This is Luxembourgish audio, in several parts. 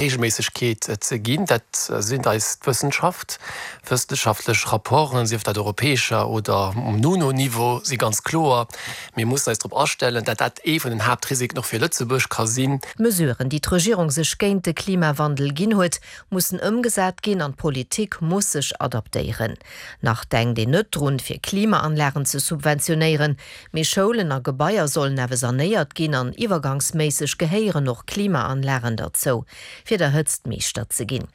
Reegelméissegkeet ze ginn. Dat seet eis d'Wëssenschaft. Wëssenschaftlech Rapporten, sief dat europäescher oder um UNO-Niveau, si ganz kloer, Mir mussen eis drop astellen, dat dat ee vun den Haaptrisiken och fir Lëtzebuerg ka sinn. D'Mesuren, déi d'Regierung sech géint de Klimawandel ginn huet, mussen ëmgesat ginn an d'Politik muss sech adaptéieren. Nach denkt een net drun, fir Klimaanlagen ze subventionéieren, mee Schoulen a Gebaier sollen awer sanéiert ginn an iwwergangsméisseg gehéieren och Klimaanlagen derzou, fir der Hëtzt Meeschter ze ginn.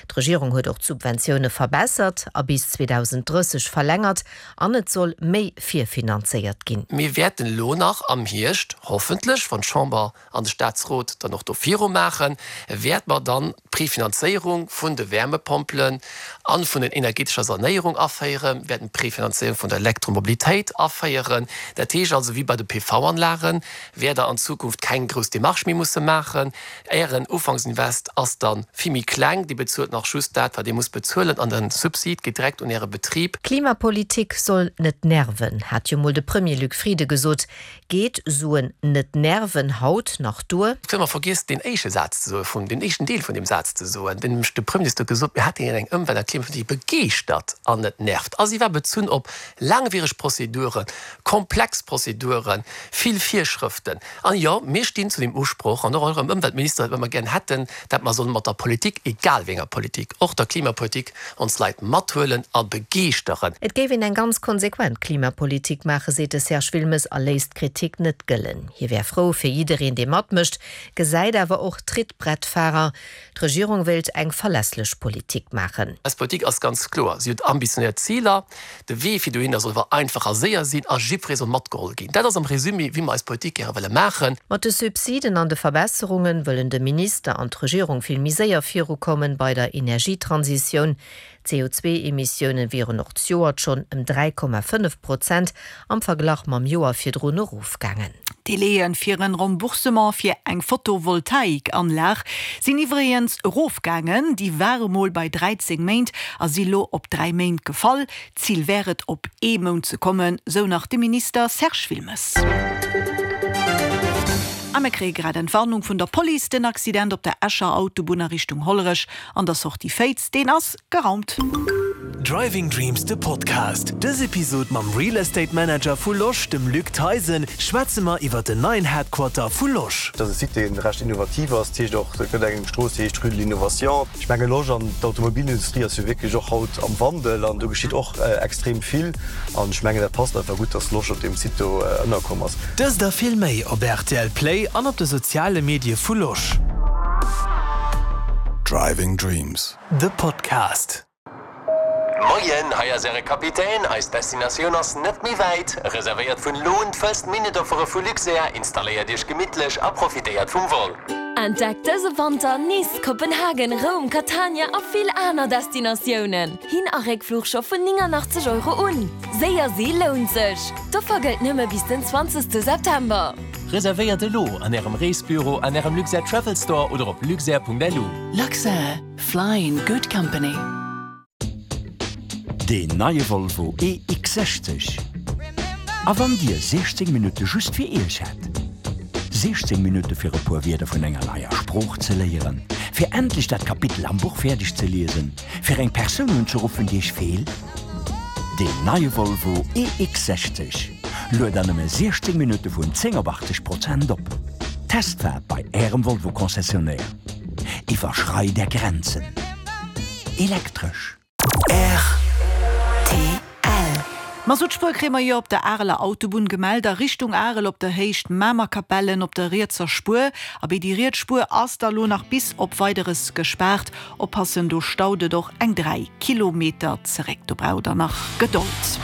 D'Regierung huet och d'Subventioune verbessert a bis 2030 verlängert an et soll méi virfinanzéiert ginn. Mir wäerten elo nach am Hierscht, hoffentlech, wann d'Chamber an de Statsrot dann och do viru maachen, wäerte mer dann d'Prefinanzéierung vun de Wärmepompelen a vun den energetescher Sanéierung aféieren, wäerten d'Prefinanzéierung vun der Elektromobilitéit aféieren. Dat heescht also, wéi bei de PV-Anlagen, wäert Der an Zukunft keng grouss Démarche méi musse maachen. Ären Ufanksinvest ass da vill méi kleng, Dir bezuelt nach just dat, wat Dir musst bezuelen an de Subsid geet direkt un Äre Betrib. Klimapolitik soll net nerven, hat jo mol de Premier Luc Frieden gesot. Geet Suen net nerven haut nach duer? Ech hunn emmer vergiess deen éischte Saz ze soen, vun deen éischten Deel vun deem Saz ze soen, deen nämlech de Premierminister huet gesot, mir hätten eng Ëmwelt a Klimapolitik, déi begeeschtert an net nervt. A si war bezunn op laangwiereg Prozeduren, komplex Prozeduren, vill Virschrëften. An jo, mir stinn zu deem Usproch, an och eurem Ëmweltminister, datt mer gären hätten, datt mer solle mat der Politik, egal wéi enger Politik, och der Klimapolitik, ons Leit mathuelen a begeeschteren. Et géif een eng ganz konsequent Klimapolitik maachen, seet de Serge Wilmes a léisst d'Kritik net gëllen. Hie wär frou fir jiddereen, dee matmécht, gesäit awer och Trittbrettfahrer. D'Regierung wéilt eng verlässlech Politik maachen. Eis Politik ass ganz kloer, si huet ambitionéiert Ziler. De Wee fir dohinner soll awer einfach a séier sinn a jiddweree soll matgeholl ginn. Dat ass am Résumé, wéi mer eis Politik gäre wëlle maachen. Mat de Subsiden an de Verbesserunge wëllen de Minister an d'Regierung vill méi séier virukommen bei der Energietransitioun. D'CO2-Emissioune wieren och d'Joert schonn ëm 3,5 Prozent am Verglach mam Joer virdrun erofgaangen. D'Délaië fir en Remboursement fir eng Photovoltaikanlag sinn iwwregens erofgaangen. Déi ware mol bei 13 Méint a si lo op 3 Méint gefall. D'Zil wär et, op ee Mount ze kommen, sou nach de Minister Serge Wilmes. A mir kréie grad Entwarnung vun der Police, Den Accident op der Escher Autobunn a Richtung Hollerech an der Sortie Féiz, deen ass geraumt. Driving Dreams de Podcast. Dës Episod mam Real Estate Manager vu Losch, dem Luc Theisen, schwätze mer iwwer den neien Headquarter vu Losch. Dass e Site, dee recht innovativ ass, dat heescht och, et gëtt eng Strooss, déi heescht Rue de l'Innovation. Ech menge Losch an d'Automobilindustrie ass jo wierklech och haut am Wandel an do geschitt och extrem vill an ech mengen dat passt einfach gutt, dass Losch op deem Site do ënnerkomm ass. Dëst a vill méi op rtl Play an op de soziale Medie vu Losch. Driving Dreams, de Podcast. Moien, hei ass äre Kapitän. Eis Destinatioun ass net méi wäit. Reservéiert vun elo un d'First Minute Offere vu Luxair, installéiert iech gemittlech a profitéiert vum Vol. Entdeckt dëse Wanter Nice, Kopenhagen, Roum, Catania a vill aner Destinatiounen. Hin a Réckfluch scho vun 89 Euro un. Séier si lount sech! D'Offer gëllt nëmme bis den 20 September. Reservéiert elo an Ärem Reesbüro, an Ärem Luxair Travel Store oder op luxair.lu. Luxair, fly in good company. Deen neie Volvo EX60. A wann Dir 16 Minutte just fir Iech hätt? 16 Minutte fir e puer Wierder vun enger neier Sprooch ze léieren, fir endlech dat Kapitel am Buch fäerdeg ze liesen, fir eng Persoun unzeruffen, déi Iech feelt? Deen neie Volvo EX60 luet an nëmme 16 Minutte vun 10 op 80 Prozent op. Testfaart bei Ärem Volvo-Concessionnaire. Iwwerschreit Är Grenzen. Elektresch. Rtl. Ma sou d'Spuer kréie mer jo op der Areler Autobunn gemellt, a Richtung Arel op der Héicht Mamer-Kapellen op der rietser Spuer. Abee déi riets Spuer ass da lo nach bis op Weideres gespaart. Oppassen, do staut et och eng 3 Kilometer zeréck. Do braucht der nach Gedold.